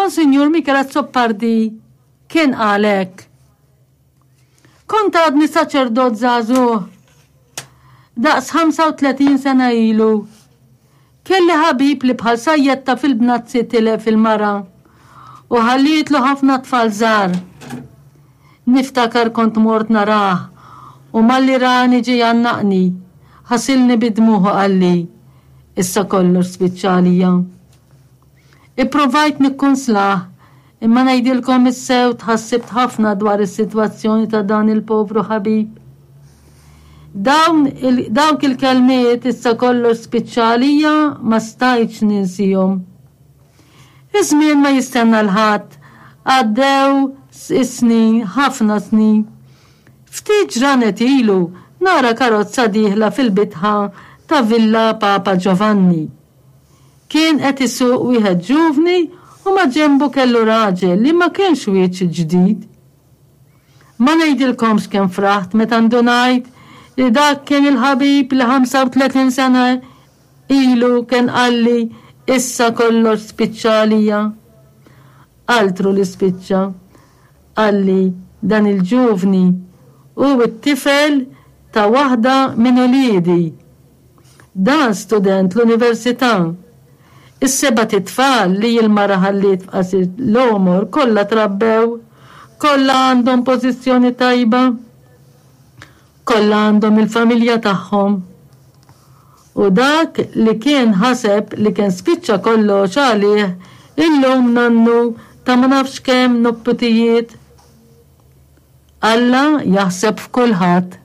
Monsinjur Michael Azzopardi kien qal hekk. Kont għadni saċerdot żagħżugħ. Daqs 35 sena ilu. Kelli ħabib li bħal sajjetta fil-bnazzi tilef il-mara u ħallietlu ħafna tfal żgħar. Niftakar kont mort narah u malli rani ġie jgħannaqni, ħasilni bid-dmugħ u qalli, Issa kollox spiċċa għalija. Ipprovajt nikkonslah, imma ngħidilkom is-sew tħassibt ħafna dwar is-sitwazzjoni ta' dan il-povru ħabib. Dawn il, dawk il-kelmiet issa kollox spiċċa għalija ma stajtx ninsihom. Iż-żmien ma jistenna 'l ħadd, għaddew is-snin, ħafna snin. Ftit ġranet ilu nara karozza dieħla fil-bitħa ta' Villa Papa Giovanni. Kien qed isuq wieħed ġuvni u maġenbu kellu raġel li ma kienx wiċċ ġdid. Ma ngħidilkomx kemm fraħt meta ndunajt li dak kien il-ħabib li 35 sena ilu kien qalli issa kollox spiċċa għalija. Altru li spiċċa. Qalli dan il-ġuvni hu t-tifel ta' waħda minn uliedi. Dan student l-università. Is-sebat itfal li l-mara ħalliet f'qasir l-għomor kollha trabbew, kollha għandhom pożizzjoni tajba, kollha għandhom il-familja tagħhom. U dak li kien ħaseb li kien spiċċa kollox għalih illum nannu ta' ma nafx kemm nopputijiet. Alla jaħseb f'kulħadd.